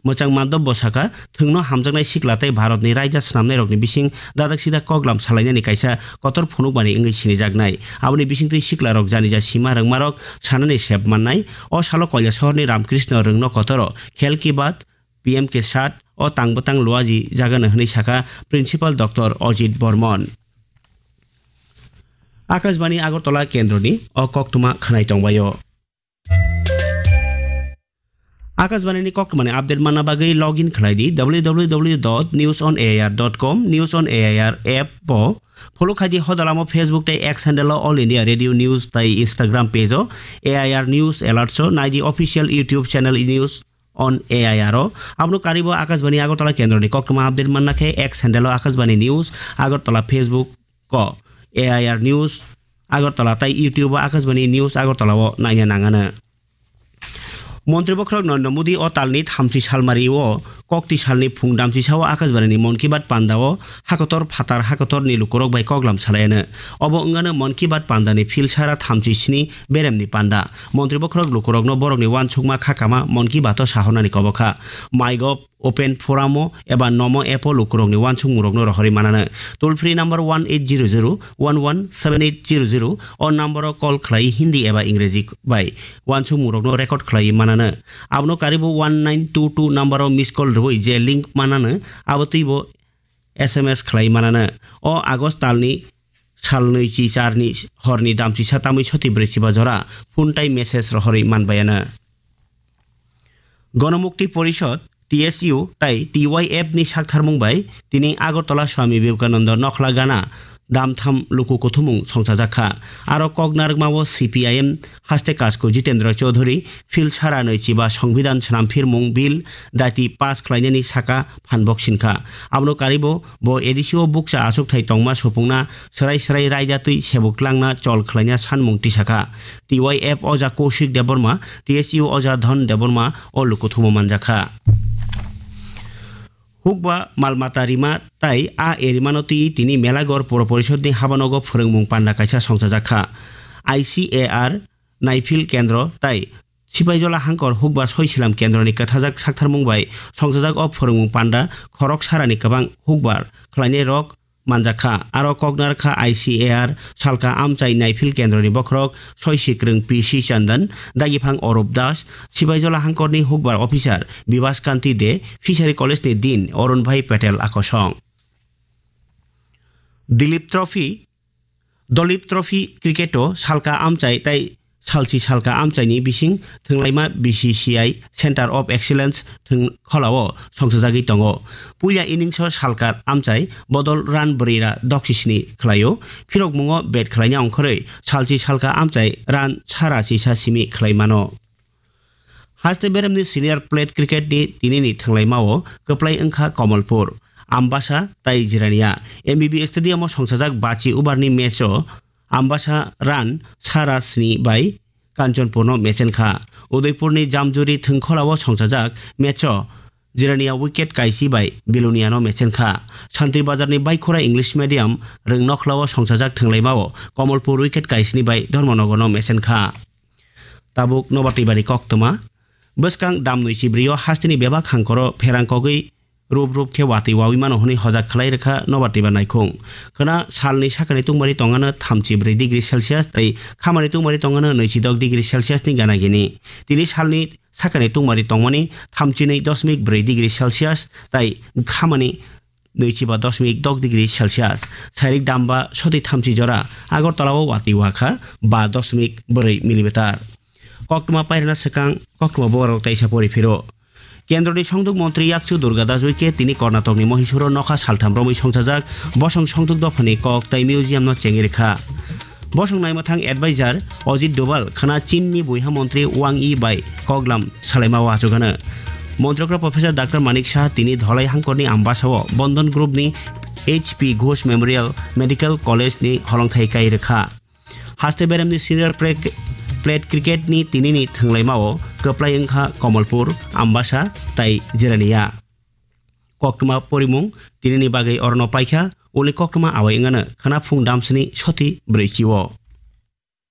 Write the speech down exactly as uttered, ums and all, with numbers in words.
Mwchang Madhab bo sakha, thwngno hamjaknai sikla tei Bharatni raida swnamnairokni bising dadak sida koklam salainani kaisa kotor phunukmani wngwi sinijaknai. Aboni bisingtwi siklarok janija sima rwngmarok sanani sep mannai. O salo Koilashahorni Ramkrishna Rwngno Kotoro Khel Ki Baat, P M Ke Saath o tang bwtang luaji jagano hwnwi sakha Principal Doctor Ajit Barman. Akashbani Agartala kendroni o koktwma khwnai tongbaio. Akashbani ni koktwmani update manna bagwi login khlai di W W W dot news on A I R dot com, News on A I R app o follow khai di, hodalamo Facebook tei X handle o All India Radio News tei Instagram page o A I R News Alerts o nai di, official YouTube channel News on A I R o. Abono karibo Akashbani Agartala kendroni koktwma update manna khe X handle o Akashbani News Agartala, Facebook ko A I R News Agartala tei YouTube o Akashbani News Agartala o naina nangano. Montri bokhorok Narendra Modi o talni thamchi salmari o kokti salni phung damchi sao Akashbani ni Mon Ki Baat panda o hakotor phatar hakotor ni lukurok bai koklam salaiano. Obo wngano Mon Ki Baat panda ni phil sara thamchi sni berem ni panda. Montri bokhorok lukurokno borokni uansukma kha kama Mon Ki Baat o sahornani kobo kha. MyGov Open Forum o eba Nomo app o lukurokni uansukmungrokno rohorwi manano. Toll free number one eight zero zero one one seven eight zero zero o number o call khlai Hindi eba Ingreji bai uansukmungrokno record khlai manano. Abono karibo one nine two two number o miss call rwui je link manano, abo twibo S M S khlai manano. O August talni salnwi chi charni horni damchisa tamwi soti brwi chiba jora phone tai message rohorwi manbayano. Ganamukti Porishad, T S U, tai T Y F ni saktharmung bai tini Agartala Swami Vivekananda Nokhla Gana damtham luku kuthumung songchajak kha. Aro kok narwkmao C P I M haste kasku Jitendra Chaudhary, phil sara nwi chiba Songbidan Swnamphirmung Bill daiti pass khlainani saka phanbok sinkha. Abono karibo bo A D C o bukcha achukthai tongma supungna swrai swrai raida twi sebuk tlangna chol khlaina sanmung tisakha. T Y F oja Kaushik Debbarma, T S U oja Dhon Debbarma o lukuthumo manjakha. Hukba malmata rima tai a erimano twi tini Melagor Puro Porishodni habanogo phwrwngmung panda kaisa songchajakha. I C A R Naifil Kendro tai Sipaijola Hangkor Hukba Soisilam Kendroni kwthajak saktharmung bai songchajak o phwrwngmung panda khorok sarani kwbang hukbar khlainai rok manjakha. Aro koknarkha I C A R salka amchai naifil kendroni bokhorok Soisikrwng P C Chandan, Dagiphang Orup Das, Sipaijola Hangkorni hukbar officer Bibas Kanti De, Fishery College ni Dean Arun Bhai Patel akosong. Dilip Trophy, Dolip Trophy cricket o salka amchai tai salchi salka amchaini bising thwnglaima B C C I Center of Excellence thwng kholao songchajagwi tongo. Puila innings o salka amchai bodol run brwi ra doksisni khlaio. Phirokmungo bat khlaina ongkhorwi salchi salka amchai run sara chisa simi khlai mano. Haste beremni senior plate cricket ni tinini thwnglaimao kwplai wngkha Kamalpur, Ambasa tai Jirania. M B B Stadium o songchajak bachi over ni match o Ambasa run sara sni bai Kanchanpur no mechen kha. Udaipur ni Jamjuri thwngkholao songchajak match o Jirania wicket kaisi bai Bilonia no mechen kha. Santri Bazar ni Baikhora English Medium Rwngnokhlao songchajak thwnglaimao Kamalpur wicket kaisni bai Dharmanagar no mechen kha. Tabuk nobar twibani koktwma. Bwskang damnwi chibrio hasteni bebak hangkoro pherang kogwi rup rup khe watwi wawi mano hwnwi hojak khlai rwkha nobar twiba naikhung. Khwna salni sakani tungmari tongano thamchi brwi degree Celsius tei khamani tungmari tongano nwichi dok degree Celsius ni gana gini. Tini salni sakani tungmari tongmani thamchi nwi dosmik brwi degree Celsius tei khamani nwichi ba dosmik dok degree Celsius. Sairik damba soti thamchi jora Agartala o watwi wakha ba dosmik brwi millimeter. Koktwma pairwna swkang koktwma borok taisa pori phiro. Kendroni songduk montri yakchu Durga Das Uike tini Karnatokni Mohisuro nokha saltham romwi songchajak bosong songduk dophani kok tai museum no chengwi rwkha. Bosong naimwthang advisor Ajit Doval khwna Chinni buiha montri Wang Yi bai koklam salaima o achugano. Montrokra Professor Doctor Manik Saha tini Dholai hangkorni Ambasao Bandhan Group ni H P Ghosh Memorial Medical College ni holongthai kai rwkha. Haste beremni senior pre-, plate cricket ni tinini thwnglaimao kwplai wngkha Kamalpur, Ambasa tai Jirania. Koktwma porimung tinini bagwi orono paikha, uni koktwma awai wngano khwna phung damsini soti brwi chio.